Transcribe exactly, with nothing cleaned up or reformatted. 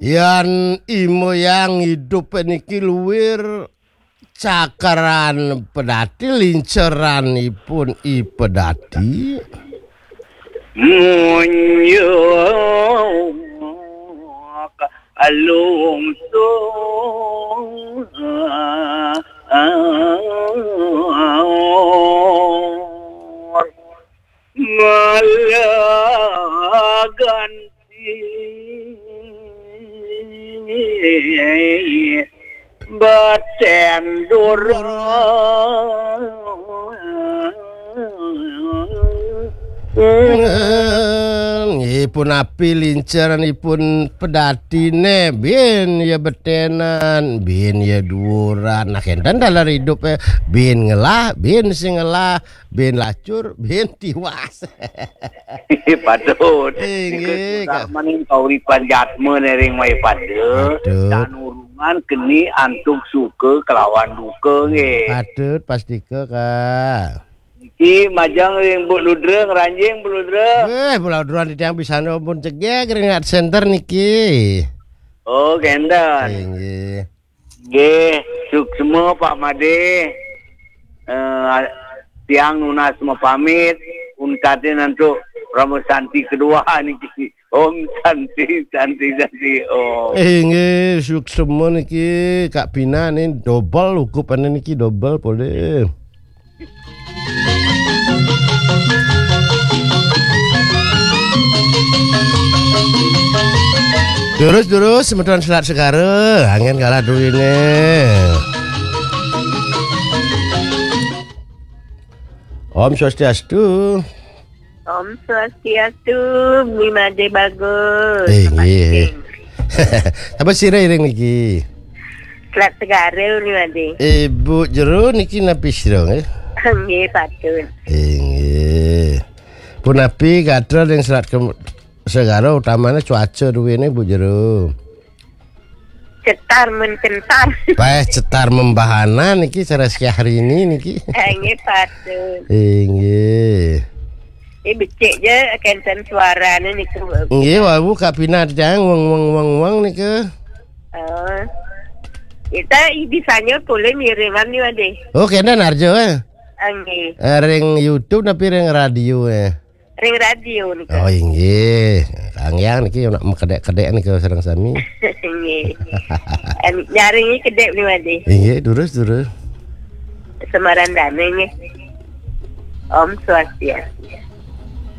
Yan I Moyang idup niki luir cakaran pedati, linceranipun I Pedati. Munjuk lungsur malah ganti batendur. Nggih, punapi linceranipun pedatine, bin ya betenan, bin ya duuran. Nah, kenten taler idup, eh, bin ngelah, bin sing ngelah, bin lacur, bin tiwas. Patut. Inggih, Kak. Sarmaning kauripan jatma nering maipada. Patut. Tan urungan keni antuk suka kelawan duka, nggih. Patut pastika, Kak. Niki majeng ring Bu Ludra, ngranjing Bu Ludra. Weh, Bu Ludra titiang pisan pun cegeg ring center niki. Oh, kenten. Inggih. Nggih, suksma Pak Made. Eh, tiang nunas mapamit, untatin antuk Parama Santi kedua niki. Om Santi, Santi, Santi, Om. Inggih, suksma niki Kak Pina nih, dobel ukupane niki, dobel polih. Terus, terus, semeton Selat Segara, angin kalah duwine. Om Swastiastu. Om Swastiastu, Bli Made bagus. Eh, nggih. Apa sira iring niki? Selat Segara, Bli Made. Ibu Jero niki napi sira, nggih? Nggih, patut. Eh, nggih. Punapi gatra ring Selat Kem-, Segara utamane cuaca duwene, Bu Jero? Cetar mencentar. Peh cetar membahana niki, cara Syahrini niki. Eh, nggih, patut. Inggih. Eh, becik je kenten suarane niku. Nggih, wau Kak Pina titiang weng, weng, weng, weng niku. Oh. Kita i-, bisanya boleh ngiriman ni, Made. Oh, kenten arjo, eh. Ah, nggih. Eh, ring YouTube tapi ring radio, eh. Ring radio niku. Oh, inggih. Kang Yang niki nak mekedek-kedek niku sareng sami. Nggih. Em, nyaringi kedek ni, Made. Inggih, durus, durus. Semaran dane nggih. Om Swastiastu.